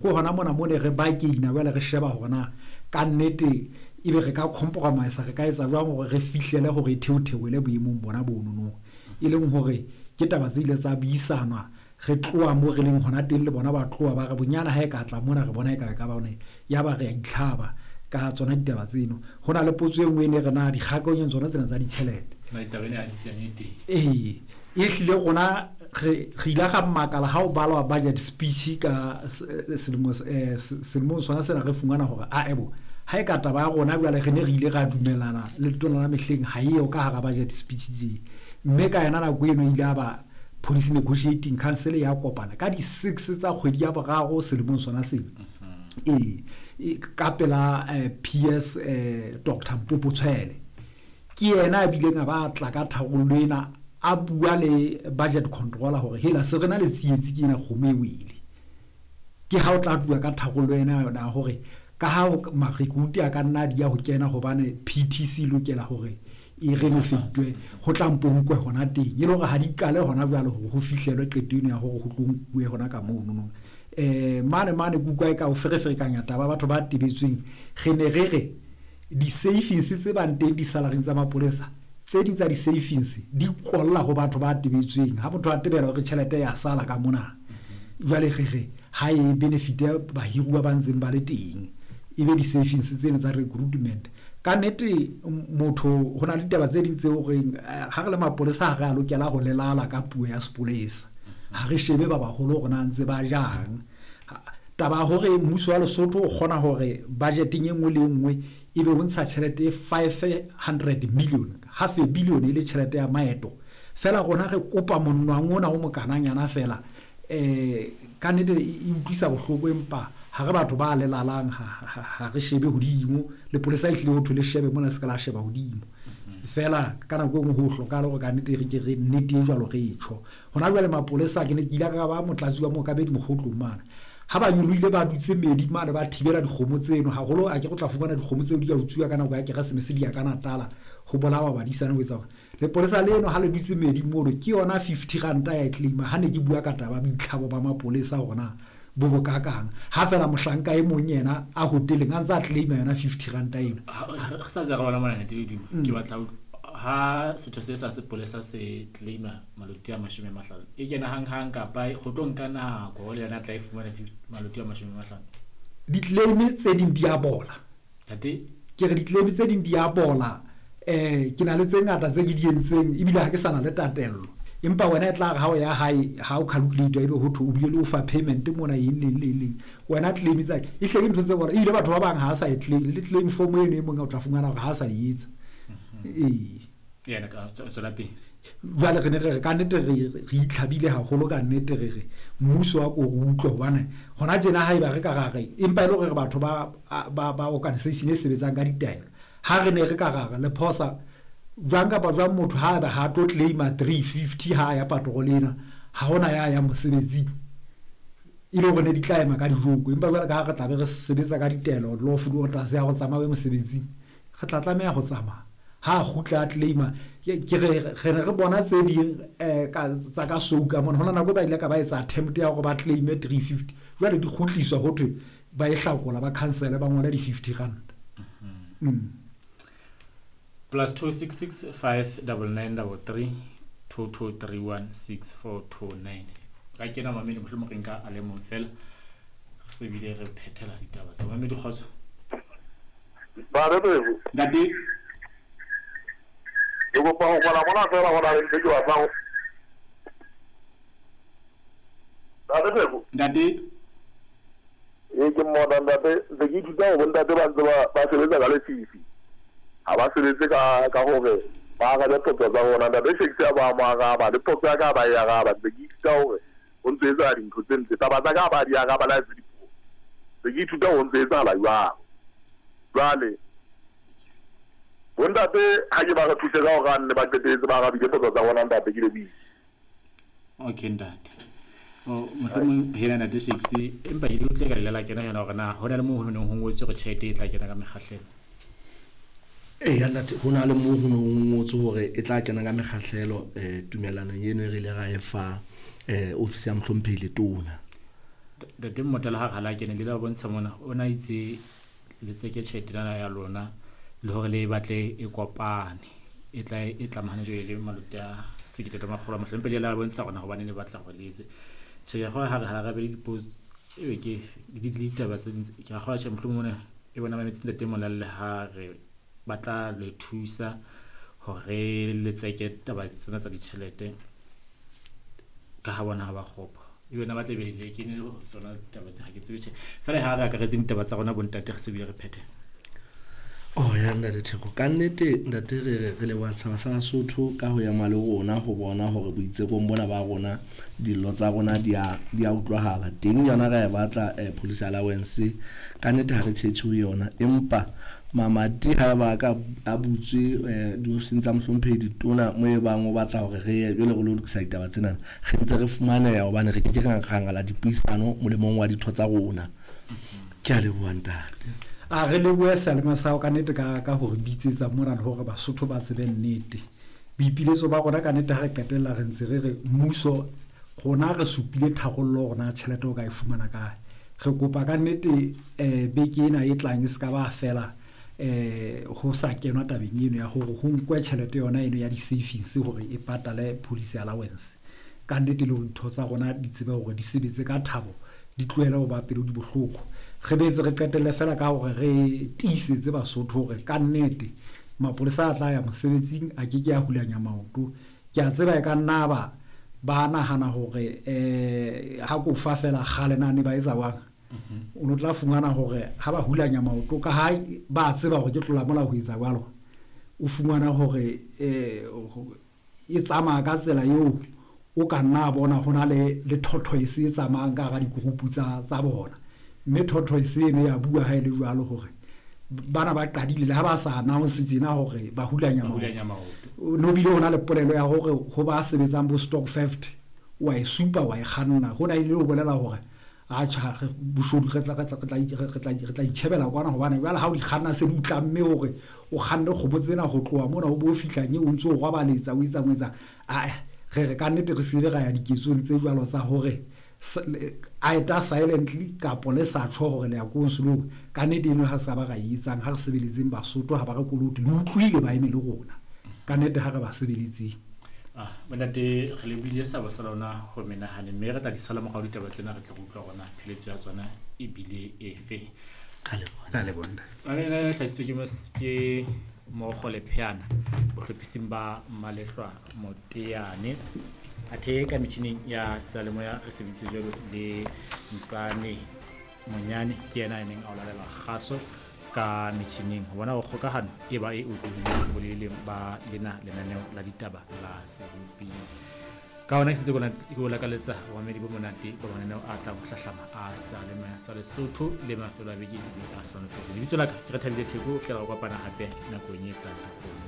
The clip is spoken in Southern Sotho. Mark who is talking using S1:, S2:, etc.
S1: Ke hona mona mo ne re bargaina jwale re sheba hore na ka nnete ebe re ka compromise re ka etsa jwang hore re fihlele hore e theotheole boemong bona bonono. E leng hore ke taba tse ile tsa buisanwa re tloha mo re leng hona teng le bona ba tloha ba re bonyane ha e ka tla mona re bona e ka e ka ba one ya ba re a itlhaba ka tsona ditaba tseno. Ho na le potso e nngwe e ne re na dikgakanyong tsona tsena tsa ditjhelete. Ee, e hlile rona re re ile ra makala ha o balwa budget speech ka selemo selemong sona sena re fumana hore a ebo ha e ka taba ya rona jwale re ne re ile ra dumellana le letona la mehleng ha eo ka hara budget speech tje. Mme ka yona nako eno ile a ba Policy Negotiating Council ya kopana ka di-6 tsa kgwedi ya boraro selemong sona sena. Ee, ka pela PS Dr Mpopo Tshwele. Ke yena a bileng a ba tla ka tharollo ena a bua le budget controller hore hela se re na le tsietsi ke ena kgomo e wele. Ke ha o tla tluwa ka tharollo ena yona hore ka ha marecruit a ka nna di ya ho kena hobane PTC lokela hore e renovatwe ho tla mpo nkwe hona teng e le hore ha di qale hona jwale hore ho fihlelwe qeto eno ya hore ho tlo nkuwe hona ka mono no. Mane mane ke utlwa e ka o fereferekanya taba batho ba tebetsweng re ne re re di-savings tse bang teng di-salaryng tsa mapolesa tse ding tsa di-savings di kolla ho batho ba tebetsweng. Ha motho a tebela hore tjhelete ya sala ka mona jwale re re ha e benefite bahiruwa ba ntseng ba le teng e be di-savings tseno tsa recruitment. Ka nnete motho ho na le ditaba tse ding tseo reng ha re le mapolesa ha re a lokela ho lelala ka puo ya sepolesa. Ha re shebe ba baholo hore na ntse ba jang. Taba ya hore mmuso wa Lesotho o kgona hore budgeteng e nngwe le e nngwe ebe o ntsha tjhelete e 500 million, half a billion e le tjhelete ya maeto. Feela rona re kopa monwang ona o mokananyana feela. Ka nnete e utlwisa bohloko empa ha re batho ba lelalang ha re shebe hodimo. Lepolesa e hlile ho thwe le shebe mona se ka la sheba hodimo. Feela ka nako e nngwe ho hlokahale hore ka nnete re ke re nnete e jwalo re e tjho. Hona jwale mapolesa ke ne ke ile ka ba motlatsi wa mookamedi Mokgotlong mane. Ha ba nyolohile ba dutse medi mane ba thibela dikgomo tseno haholo a ke go tla fumana dikgomo tseo di ka utsuwa ka nako ya Keresemese di ya ka Natala ho bolawa badisana ho etsa hore lepolesa leno ha le dutse medi mono ke yona 50 ranta ya e claima. Ha ne ke bua ka taba boitlhabo ba mapolesa hore na bo bokakang ha fela mohlanka e mong yena a hoteleng a ntse a claima yona 50 ranta eno.
S2: Re sa ntse re bona mona Ntate Ledumo, ke batla ha setho se sa sepolesa se claima maloti a 50 e kena hang hang kapa go tlo nka nako le yona tla e fumana maloti a 50?
S1: Di-claim tse ding di a bola.
S2: Ntate?
S1: Ke re di-claim tse ding di a bola. Ke na le tse ngata tse ke di entseng ebile ha ke sa na le tatello. Empa wena e tla re ha o ya hae ha o calculate ebe ho thwe o bile le ofa payment mona eng le eng le eng le eng. Wena claim tsa e hle ke ntho tse bona ebile batho ba bang ha sa e claim le claim form eno e mong o tla fumana hore ha sa e etsa. Ee.
S2: Yena ka tswela pele.
S1: Jwale re ne re re ka nnete re itlhabile haholo ka nnete re re mmuso wa ko re utlwe hobane hona tjena haeba re ka ra re empa e le hore re batho ba ba ba organization e sebetsang ka ditaelo. Ha re ne re ka ra re le phosa jwang kapa jwang motho ha eba ha tlo claima 350 ha ya patrol ena ha hona ya ya mosebetsing e le hore ne di tla ema ka dijoko. Empa jwale ka ha re tla be re sebetsa ka ditaelo lawful orders ya ho tsamaya mosebetsing re tla tlameha ho tsamaya. Ha kgutla a claima ke re re ne re bona tse ding ka tsa ka souka mona hona nako ba ile ka ba etsa attempt ya hore ba claime 350 jwale di kgutliswa ho thwe ba e hlakola ba cancel ba ngole di 50 rand.
S2: +266 599 33 2231 6429. Ka kena mamedi mohlomong re nka a le mong fela re se bile re phethela ditaba tsa mamedi. Kgotso.
S3: Ntate Pheko.
S2: Ntate.
S3: Ke kopa ho kwala mona fela ho na le ntho ke batlang. Ntate Pheko.
S2: Ntate.
S3: Ee ke mmona ntate, ntse ke ithuta ho bontate ba ntse ba sebetsa ka lefifi. Ha ba sebetse ka hore ba arabe potso tsa rona. Ntate Shakespeare ba mo araba le potso ya ka ba e araba. Ntse ke ithuta hore ho ntse etsahala dintho tse ntle. Taba tsa ka ba di araba le ha se dipuo. Ntse ke ithuta ho ntse etsahala jwang. Jwale bontate ha ke ba re thuse ka hore a nne ba qetelletse ba arabile potso tsa rona ntate ke lebohile.
S2: Okay ntate. O mohlomong hela ntate Shakes empa e utlwe ka lela kena yona hore na hona le moo ho neng ho ngotswe hore tjhelete e tla kena ka mekgahlelo.
S4: Eya ntate, ho na le moo ho neng ho ngotswe hore e tla kena ka mekgahlelo tumellanong eno e re ile ra e fa ofisi ya mohlomphehi Letona.
S2: Ntate Mmotela ha re ha la kene le la bontsha mona o na itse le tseke tjhelete ena ya lona le hore le e batle e kopane e tla e tlamahane jwale le malote a 1500 mpe le la bontsha rona hobane le batla hore le etse. Tjhe, ke a kgolwa ha re ha re be le di-post ebe ke le ditaba tse ding ke a kgolwa tjhe mohlomong mona e bona mametse ntate Molalle ha re ba tla le thusa hore le tseke taba tsena tsa ditjhelete ka ha bona ha ba kgopo. Ebe na ba tla be le kene le tsona taba tse ha ke tsebe tjhe. Feela ha re akaretse ditaba tsa rona bontate re se bile re phethe.
S4: Oh ya ntate Theko, ka nnete ntate re re re leboha setjhaba sa Basotho ka ho ema le rona ho bona hore boitsekong bona ba rona dillo tsa rona di a di a utlwahala. Teng yona ra e batla police allowance, ka nnete ha re tjhetjhe ho yona, empa mamati ha ba ka a butswe diofising tsa mohlomphehi ditona mo e bang o batla hore re ye jwale re lo lokisa ditaba tsena, re ntse re fumaneha hobane re ke ke ra ngala dipuisano molemong wa ditho tsa rona. Ke a leboha ntate.
S1: A re lebohe seyalemoya sa hao ka nnete ka ka hore bitsetsa mona le hore Basotho ba tsebe nnete. Boipiletso ba rona ka nnete ha re qetella re ntse re re mmuso rona re supile tharollo hore na tjhelete o ka e fumana kae. Re kopa ka nnete beke ena e tlang e se ka ba fela ho sa kenwa tabeng eno ya hore ho nkwe tjhelete yona eno ya di-savings hore e patale police allowance. Ka nnete le hore ditho tsa rona di tsebe hore di sebetse ka thabo, di tlohele ho ba pelo di bohloko. Re boetse re qetelle fela ka hore re tiisetse Basotho hore ka nnete mapolesa a tla ya mosebetsing a ke ke a hulanya maoto. Ke a tseba e ka nna ba ba nahana hore ha ko fa fela kgale na ne ba etsa jwang. O no tla fumana hore ha ba hulanya maoto ka ha ba tseba hore ke tlola molao ho etsa jwalo, o fumana hore e tsamaya ka tsela eo o ka nna a bona ho na le le tortoise e tsamayang ka hara di-group tsa tsa bona. Mme tortoise eno ya bua ha e le jwalo hore bana ba qadile le ha ba sa announce tjena hore ba hulanya maoto. No bile ho na le polelo ya hore ho ba sebetsang bo stock theft wa e supa wa e kganna. Hona ile ho bolela hore atjha boshodu re tla itjhebela kwana hobane jwale ha o di kganna se di o tlamme hore o kganne kgomo tsena ho tloha mona o bo fihla nye o ntso o rwabaletsa o etsang o etsang. Ae re re ka nnete re se be ra ya diketsong tse jwalo tsa hore a eta silently kapo le sa tjho hore le ya konsolong. Ka nnete eno ha sa ba ra e etsang, ha re sebeletseng Basotho ha ba re kolote le utlwile ba eme le rona. Ka nnete ha re ba sebeletseng.
S2: Bontate re lebohile seabo sa lona ho menahane mme re tla di sala morao ditaba tsena re tle re utlwa rona pheletso ya tsona ebile efe.
S1: Ka leboha.
S2: Ena e hlahisitswe ke Mokgo Lepheana bohlophising ba Malehlwa Moteane. Athe ka metjhining ya seyalemoya re sebeditse jwalo le Ntsane Monyane, ke yena a neng a o lalela kgaso ka metjhining. Ho bona ho kgokahano e ba e otlolohileng boleleng ba lena lenaneo la ditaba la Serupi. Ka hona ke sentse ke o lakaletsa bomamedi bo monate ba mananeo a tlang ho hlahlama a seyalemoya sa Lesotho le mafelo a beke ebe a hlohonolofetse. Lebitso la ka ke Rethabile Theko, ho fihlela re kopana hape nakong e tlang.